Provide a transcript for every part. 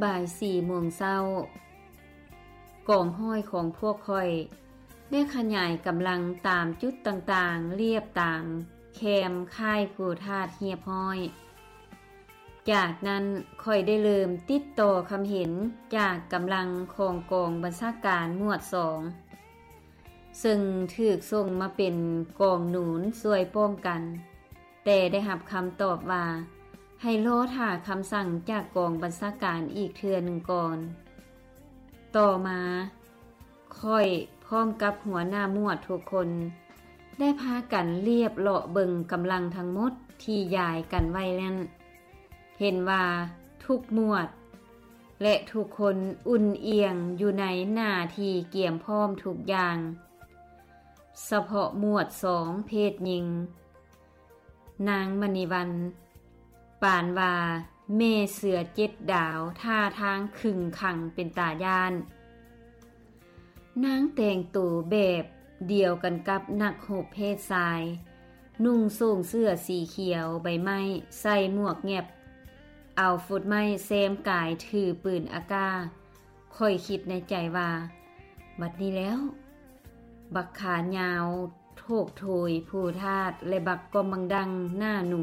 ບ່າຍສີ່ໂມງເຊົ້າ, ກອງຮ້ອຍຂອງພວກຂ້ອຍໄດ້ຂະຫຍາຍກຳລັງຕາມຈຸດຕ່າງໆ ລຽບຕາມແຄມຄ້າຍພູທາດຮຽບຮ້ອຍ. ຈາກນັ້ນຂ້ອຍໄດ້ເລີ່ມຕິດຕໍ່ຄຳເຫັນຈາກກຳລັງຂອງກອງບັນຊາການໝວດສອງ ເຊິ່ງຖືກສົ່ງມາເປັນກອງໜູນຊ່ວຍປ້ອງກັນ, ແຕ່ໄດ້ຮັບຄຳຕອບວ່າໃຫ້ລໍຖ້າຄຳສັ່ງຈາກກອງບັນຊາການອີກເທື່ອໜຶ່ງກ່ອນ. ຕໍ່ມາ, ຂ້ອຍພ້ອມກັບຫົວໜ້າໝວດທຸກຄົນ ໄດ້ພາກັນລຽບເລາະເບິ່ງກຳລັງທັງໝົດທີ່ຢາຍກັນໄວ້ນັ້ນ, ເຫັນວ່າທຸກໝວດ ແລະ ທຸກຄົນອຸ່ນອຽງຢູ່ໃນໜ້າທີ່ກຽມພ້ອມທຸກຢ່າງ, ສະເພາະໝວດສອງເພດຍິງ. ນາງມະນີວັນ ປານວ່າແມ່ເສືອເຈັດດາວ, ທ່າທາງຂຶງຂັງເປັນຕາຢ້ານ. ນາງແຕ່ງໂຕແບບດຽວກັນກັບນັກຮົບເພດຊາຍ, ນຸ່ງໂສ້ງເສື້ອສີຂຽວໃບໄມ້, ໃສ່ໝວກແຫງບ, ເອົາຟຸດໄມ້ແຊມກາຍ, ຖືປືນອາກາ. ຂ້ອຍຄິດໃນໃຈວ່າ, ບັດນີ້ແລ້ວ, ບັກຂາຍາວ ໂຖກໂຖຍພູທາດ ແລະ ບັກກອມບັງດັງໜ້າໜູ,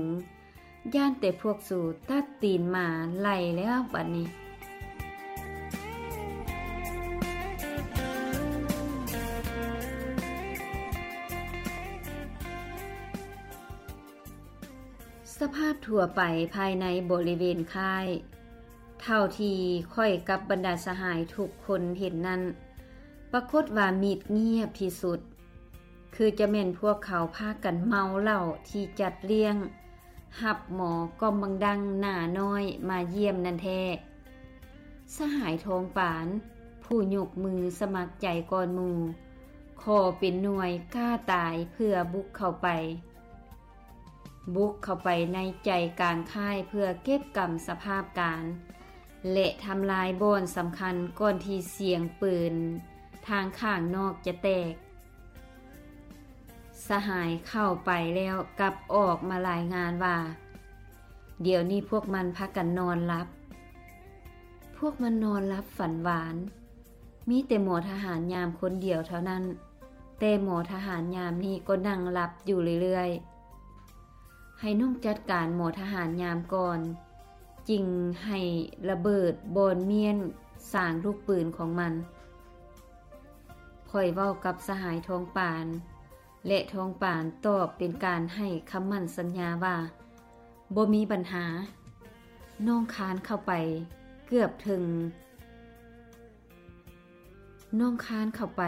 ຢ້ານແຕ່ພວກສູຕັດຕີນໝາໄລ່ແລ້ວບັດນີ້. ສະພາບທົ່ວໄປພາຍໃນບໍລິເວນຄ້າຍ, ເທົ່າທີ່ຂ້ອຍກັບບັນດາສະຫາຍທຸກຄົນເຫັນນັ້ນ, ປາກົດວ່າມິດງຽບທີ່ສຸດ, ຄືຈະແມ່ນພວກເຂົາພາກັນເມົາເຫຼົ້າທີ່ຈັດລ້ຽງຮັບໝໍກອມບັງດັງໜ້ານ້ອຍມາຢ້ຽມນັ້ນແທ້. ສະຫາຍທອງປານ ຜູ້ຍົກມືສະໝັກໃຈກ່ອນໝູ່, ຂໍເປັນໜ່ວຍກ້າຕາຍເພື່ອບຸກເຂົ້າໄປ. ບຸກເຂົ້າໄປໃນໃຈກາງຄ້າຍເພື່ອເກັບກຳສະພາບການ ແລະ ທຳລາຍບ່ອນສຳຄັນກ່ອນທີ່ສຽງປືນທາງຂ້າງນອກຈະແຕກ. ສະຫາຍເຂົ້າໄປແລ້ວກັບອອກມາລາຍງານວ່າ, ດຽວນີ້ພວກມັນພາກັນນອນຫຼັບ. ພວກມັນນອນຫຼັບຝັນຫວານ. ມີແຕ່ໝໍທະຫານຍາມຄົນດຽວເທົ່ານັ້ນ, ແຕ່ໝໍທະຫານຍາມນີ້ກໍນັ່ງຫຼັບຢູ່ເລື້ອຍໆ. ໃຫ້ນ້ອງຈັດການໝໍທະຫານຍາມກ່ອນ, ຈຶ່ງໃຫ້ລະເບີດບ່ອນມ້ຽນສາງລູກປືນຂອງມັນ. ຂ້ອຍເວົ້າກັບສະຫາຍທອງປານ ແລະ ທອງປານຕອບເປັນການໃຫ້ຄຳໝັ້ນສັນຍາວ່າ, ບໍ່ມີບັນຫາ. ນ້ອງຄານເຂົ້າໄປເກືອບເຖິງ, ນ້ອງຄານເຂົ້າໄປ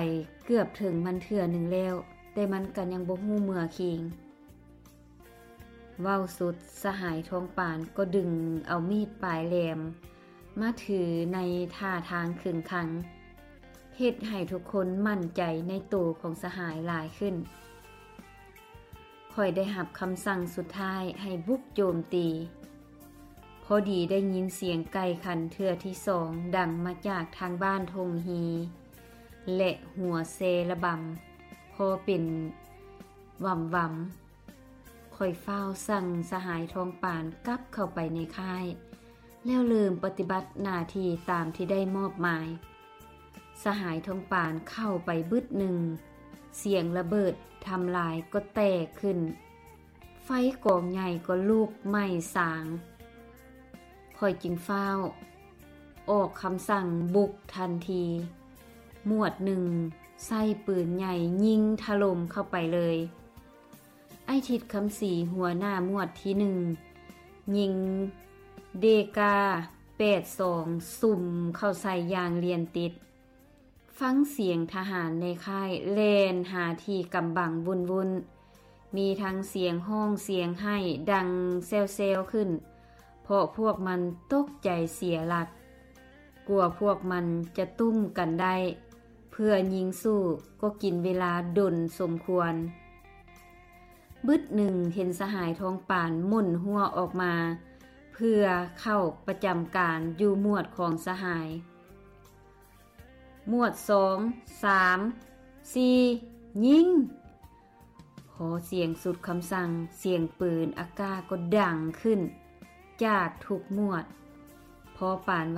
ເກືອບເຖິງມັນເທື່ອໜຶ່ງແລ້ວ, ແຕ່ມັນກໍຍັງບໍ່ຮູ້ເມື່ອຄີງ. ເວົ້າສຸດ, ສະຫາຍທອງປານກໍດຶງເອົາມີດປາຍແຫຼມມາຖືໃນທ່າທາງເຄັ່ງຄັງ, ເຮັດໃຫ້ທຸກຄົນໝັ້ນໃຈໃນໂຕຂອງສະຫາຍຫຼາຍຂຶ້ນ. ຂ້ອຍໄດ້ຮັບຄຳສັ່ງສຸດທ້າຍໃຫ້ບຸກໂຈມຕີ. ພໍດີໄດ້ຍິນສຽງໄກ່ຂັນເທື່ອທີສອງດັງມາຈາກທາງບ້ານທົ່ງຮີ ແລະ ຫົວແຊລະບຳພໍເປັນຫວຳໆ. ຂ້ອຍຟ້າວສັ່ງສະຫາຍທອງປານກັບເຂົ້າໄປໃນຄ້າຍ ແລ້ວເລີ່ມປະຕິບັດໜ້າທີ່ຕາມທີ່ໄດ້ມອບໝາຍ. ສະຫາຍທອງປານເຂົ້າໄປບຶດໜຶ່ງ, ສຽງລະເບີດທຳລາຍກໍແຕກຂຶ້ນ, ໄຟກອງໃຫຍ່ກໍລຸກໄໝ້ສາງ. ຂ້ອຍຈຶ່ງຟ້າວອອກຄຳສັ່ງບຸກທັນທີ. ໝວດໜຶ່ງໃຊ້ປືນໃຫຍ່ຍິງຖະຫຼົ່ມເຂົ້າໄປເລີຍ. ອ້າຍທິດຄຳສີ ຫົວໜ້າໝວດທີໜຶ່ງ ຍິງເດກາແປດສອງ ສຸ່ມເຂົ້າໃສ່ຢ່າງລຽນຕິດ. ຟັງສຽງທະຫານໃນຄ້າຍແລ່ນຫາທີ່ກຳບັງວຸ່ນໆ. ມີທັງສຽງຮ້ອງສຽງໄຫ້ດັງແຊວໆຂຶ້ນ, ເພາະພວກມັນຕົກໃຈເສຍຫຼັກ. ກວ່າພວກມັນຈະຕຸ້ມກັນໄດ້ເພື່ອຍິງສູ້ກໍກິນເວລາດົນສົມຄວນ. ບຶດໜຶ່ງເຫັນສະຫາຍທອງປານໝົນຫົວອອກມາ ເພື່ອເຂົ້າປະຈຳການຢູ່ໝວດຂອງສະຫາຍ. ໝວດສອງ ສາມ ສີ່ ຍິງ! ພໍສຽງສຸດຄຳສັ່ງ, ສຽງປືນອາກາດກໍດັງຂຶ້ນຈາກທຸກໝວດ. ພໍປານ